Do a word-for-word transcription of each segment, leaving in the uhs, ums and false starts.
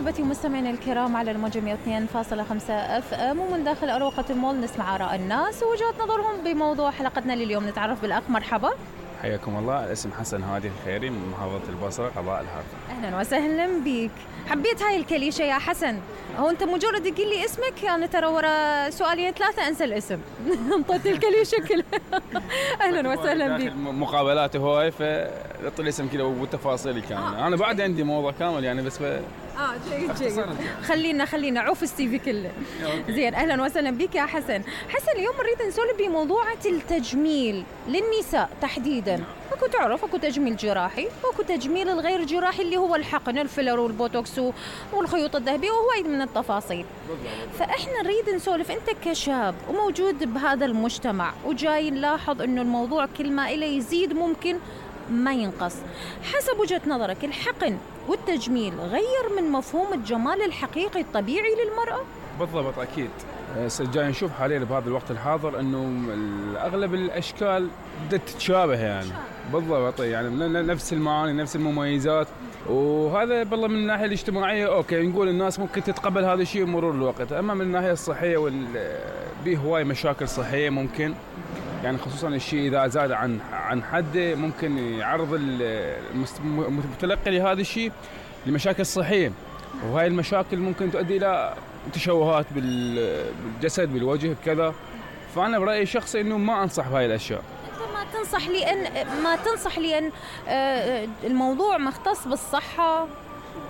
محبتي ومستمعينا الكرام على الموجة مئة واثنين فاصلة خمسة اف ام، ومن داخل أروقة المول نسمع آراء الناس ووجهات نظرهم بموضوع حلقتنا لليوم. نتعرف بالأخ. مرحبا. حياكم الله. الاسم حسن هادي الخيري من محافظة البصرة قضاء الحارث. أهلا وسهلا بيك. حبيت هاي الكليشة يا حسن. هو أنت مجرد تقول لي اسمك يعني ترى ورا سؤالين ثلاثة أنسى الاسم. انطيت الكليشة كلها. أهلا وسهلا بيك. مقابلات هواي فطلع الاسم كذا والتفاصيل الكاملة. آه. أنا بعد عندي موضوع كامل يعني بس ف... اه جيد جيد. خلينا خلينا عوف السي في كله. زين اهلا وسهلا بك يا حسن. حسن اليوم نريد نسولف بموضوع التجميل للنساء تحديدا. اكو تعرف اكو تجميل جراحي واكو تجميل الغير جراحي اللي هو الحقن الفيلر والبوتوكس والخيوط الذهبيه وهوايد من التفاصيل. فاحنا نريد نسولف، انت كشاب وموجود بهذا المجتمع وجاي نلاحظ انه الموضوع كل ما إليه يزيد ممكن ما ينقص، حسب وجهة نظرك الحقن والتجميل غير من مفهوم الجمال الحقيقي الطبيعي للمرأة؟ بالضبط أكيد. جاي نشوف حاليا بهذا الوقت الحاضر أنه أغلب الأشكال بدأت تتشابه يعني. بالضبط يعني نفس المعاني نفس المميزات، وهذا بالله من الناحية الاجتماعية أوكي نقول الناس ممكن تتقبل هذا الشيء مرور الوقت، أما من الناحية الصحية وبيه هواي مشاكل صحية ممكن يعني، خصوصا الشيء إذا زاد عن عن حده ممكن يعرض المتلقي لهذا الشيء لمشاكل صحية، وهاي المشاكل ممكن تؤدي إلى تشوهات بالجسد بالوجه كذا. فأنا برأيي الشخصي إنه ما أنصح بهاي الأشياء. أنت ما تنصح لأن ما تنصح لأن الموضوع مختص بالصحة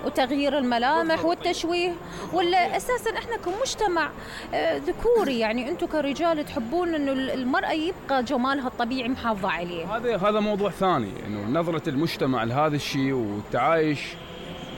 وتغيير الملامح والتشويه، ولا أساساً إحنا كمجتمع ذكوري يعني أنتم كرجال تحبون إنه المرأة يبقى جمالها الطبيعي محافظة عليه؟ هذا هذا موضوع ثاني، إنه نظرة المجتمع لهذا الشيء والتعايش.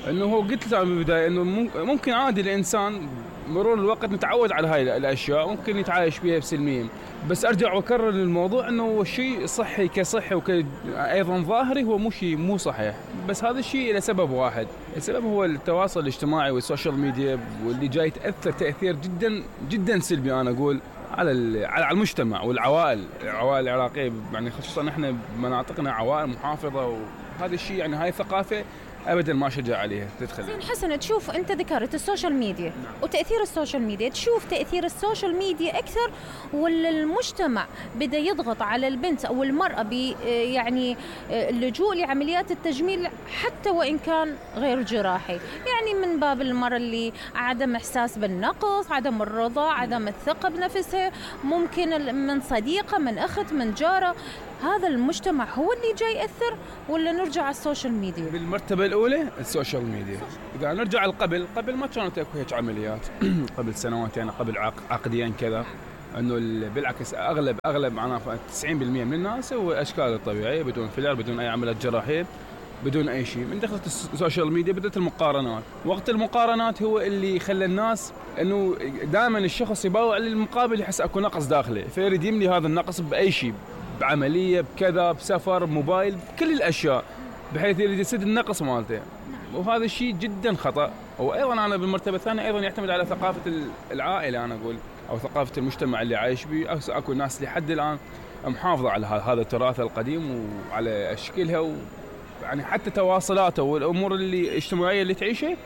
إنه هو قلت له من البداية إنه ممكن عادي الإنسان مرور الوقت نتعود على هاي الأشياء ممكن يتعايش بها بسلمية، بس أرجع وأكرر الموضوع إنه الشيء صحي كصحي وأيضا ظاهري هو مو شيء مو صحيح، بس هذا الشيء لسبب واحد. السبب هو التواصل الاجتماعي والسوشيال ميديا، واللي جاي تأثر تأثير جدا جدا سلبي أنا أقول على على المجتمع والعوائل العوائل العراقية يعني، خصوصا إحنا بمناطقنا عوائل محافظة، وهذا الشيء يعني هاي ثقافة أبداً ما شجع عليها تدخل. زين حسن، تشوف أنت ذكرت السوشيال ميديا. نعم. وتأثير السوشيال ميديا، تشوف تأثير السوشيال ميديا أكثر ولا المجتمع بدأ يضغط على البنت أو المرأة ب يعني اللجوء لعمليات التجميل حتى وإن كان غير جراحي، يعني من باب المرأة اللي عدم إحساس بالنقص، عدم الرضا، عدم الثقة بنفسها، ممكن من صديقة من أخت من جارة. هذا المجتمع هو اللي جاي يأثر ولا نرجع على السوشيال ميديا؟ بالمرتبة الأولى السوشيال ميديا. إذا نرجع قبل قبل ما كانت اكو هيك عمليات قبل سنوات يعني قبل عقديا كذا، إنه بالعكس أغلب أغلب معناها تسعين بالمئة من الناس هو أشكال الطبيعية بدون فيلر بدون أي عمليات جراحية بدون أي شيء. من دخلت السوشيال ميديا بدأت المقارنات، وقت المقارنات هو اللي خلى الناس إنه دائما الشخص يباوع للمقابل يحس أكو نقص داخله، فيريد يملي هذا النقص بأي شيء، بعملية بكذا بسفر بموبايل بكل الأشياء، بحيث يريد يسد النقص مالته، وهذا الشيء جدا خطأ. وأيضا أنا بالمرتبة الثانية أيضا يعتمد على ثقافة العائلة أنا أقول، أو ثقافة المجتمع اللي عايش به. أكو ناس لحد الآن محافظة على هذا التراث القديم وعلى أشكالها، يعني حتى تواصلاته والأمور اللي الاجتماعية اللي تعيشها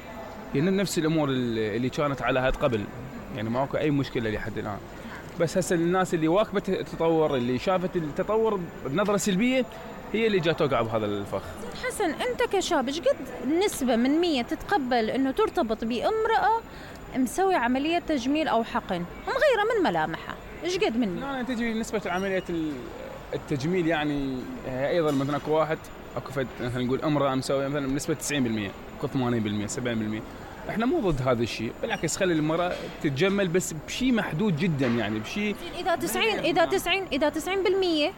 يعني نفس الأمور اللي كانت على هاد قبل، يعني ما أكو أي مشكلة لحد الآن. بس هسه الناس اللي واكبت التطور اللي شافت التطور بنظرة سلبية هي اللي جات توقع بهذا الفخ. حسن، أنت كشاب إيش قد نسبة من مية تتقبل إنه ترتبط بامرأة مسوي عملية تجميل أو حقن ومغيرة من ملامحها؟ إيش قد منه؟ لا تجي نسبة عملية التجميل يعني أيضا مثلا أكو واحد أكو فد مثلا نقول امرأة مسوية مثلا بنسبة تسعين بالمئة أكو ثمانين بالمئة سبعين بالمئة. احنا مو ضد هذا الشيء، بالعكس خلي المرأة تتجمل بس بشيء محدود جدا يعني بشيء. إذا تسعين إذا تسعين إذا تسعين بالمئة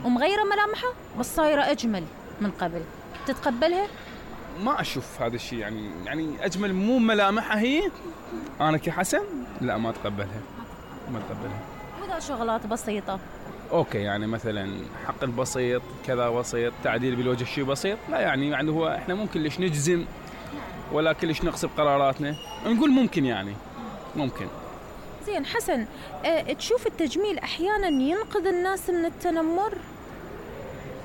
ومغيرة ملامحها بس صايرة أجمل من قبل، تتقبلها؟ ما أشوف هذا الشيء يعني يعني أجمل مو ملامحها هي، أنا كحسن لا ما أتقبلها ما أتقبلها. وإذا شغلات بسيطة أوكي يعني مثلا حقن بسيط كذا بسيط، تعديل بالوجه شيء بسيط، لا يعني يعني هو إحنا ممكن ليش نجزم ولا كلش نقص بقراراتنا، نقول ممكن يعني ممكن. زين حسن، أه تشوف التجميل أحيانا ينقذ الناس من التنمر؟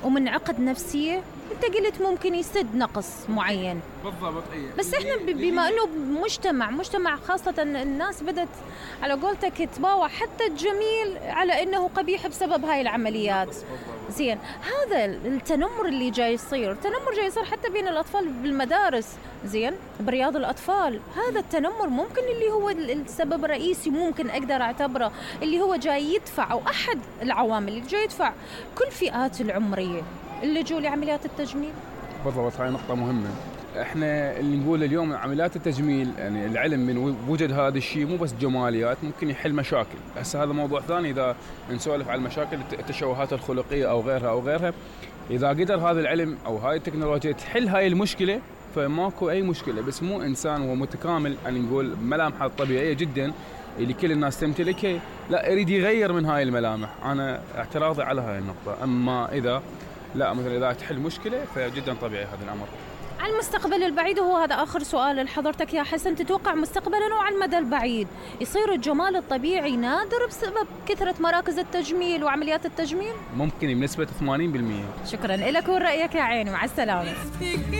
ومن عقد نفسية انت قلت ممكن يسد نقص معين. بالضبط. اي بس احنا بما انه مجتمع مجتمع خاصة الناس بدت على قولتك تباوع حتى الجميل على انه قبيح بسبب هاي العمليات. زين، هذا التنمر اللي جاي يصير، التنمر جاي يصير حتى بين الاطفال بالمدارس، زين، برياض الاطفال، هذا التنمر ممكن اللي هو السبب الرئيسي، ممكن اقدر اعتبره اللي هو جاي يدفع او احد العوامل اللي جاي يدفع كل فئات العمرية اللجوء لعمليات التجميل. بالضبط، هاي نقطة مهمة. احنا اللي نقول اليوم عمليات التجميل، يعني العلم من وجد هذا الشيء مو بس جماليات، ممكن يحل مشاكل. هسه هذا موضوع ثاني اذا نسولف على المشاكل التشوهات الخلقية او غيرها او غيرها. اذا قدر هذا العلم او هاي التكنولوجيا تحل هاي المشكلة فماكو اي مشكلة. بس مو انسان هو متكامل، يعني نقول ملامحه الطبيعية جدا اللي كل الناس تمتلكها، لا يريد يغير من هاي الملامح. انا اعتراضي على هاي النقطة. اما اذا لا مثلا اذا تحل مشكلة فجدا طبيعي هذا الامر. على المستقبل البعيد، وهو هذا آخر سؤال لحضرتك يا حسن، تتوقع مستقبلا وعلى المدى البعيد يصير الجمال الطبيعي نادر بسبب كثرة مراكز التجميل وعمليات التجميل؟ ممكن بنسبة ثمانين بالمئة. شكرا لك ورأيك يا عيني، مع السلامة.